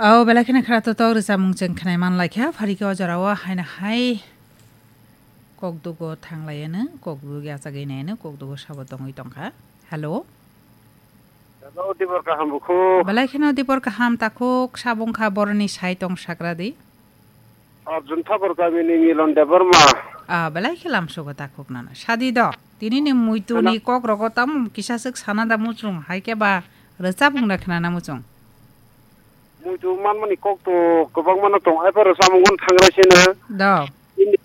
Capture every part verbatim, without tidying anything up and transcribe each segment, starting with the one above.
O belai kheno khara totok rwchapmung chwng khnai man lai kha, phari khe o jora o haino hai kokdugo thang lai ano, kokdugo yachagwi nai ano, kokdugo sabo tongwi tong kha. Hello. Hello, Dibor kaham bukhuk. Belai kheno Dibor kaham takhuk, sabo wng kha boroni sai tong sagra di. Arjun Thakur kamini Milon Debbarma. Ah, belai khe lamsogo takhuk nana. Sadi do, tini ni muitu ni kok rogo tamo kisa swk sana da muchung, hai khe ba rwchapmung da khnana muchung. Muitu manmani kok to kwbangma no tong, hai phano samung thangrai sino. Do. Ini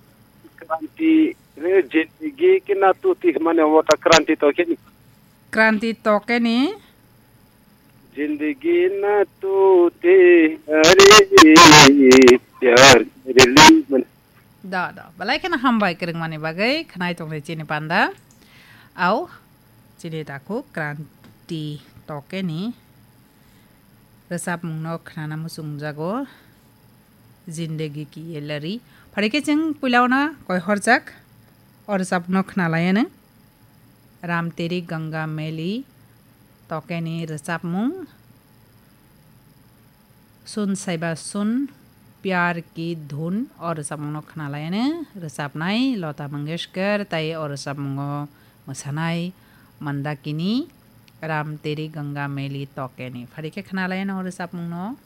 kranti re jindagi ke na tu ti mane wata kranti to khe ni. Kranti to khe ni. Zindagi na tu te are pyar rili man. Da, da. Belai kheno hambai kwrwngmani bagwi khnai tongdi chini panda. Au, chini takhuk Kranti Tokeni rwchapmungno khnana muchungjago. Zindagi ki ye lari. Phari khe chwng puila ono koi horjak o rwchapmungno khnalaiano. Ram Teri Ganga Meli Tokeni rwchapmung. Sun Saiba Sun Pyar Ki Dhun o rwchapmungno khnalaiano rwchapnai Lata Mangeshkar, tai o rwchapmungo mwsanai Mandakini, Ram Teri Ganga Meli Tokeni. Phari khe khnalaiano o rwchapmungno.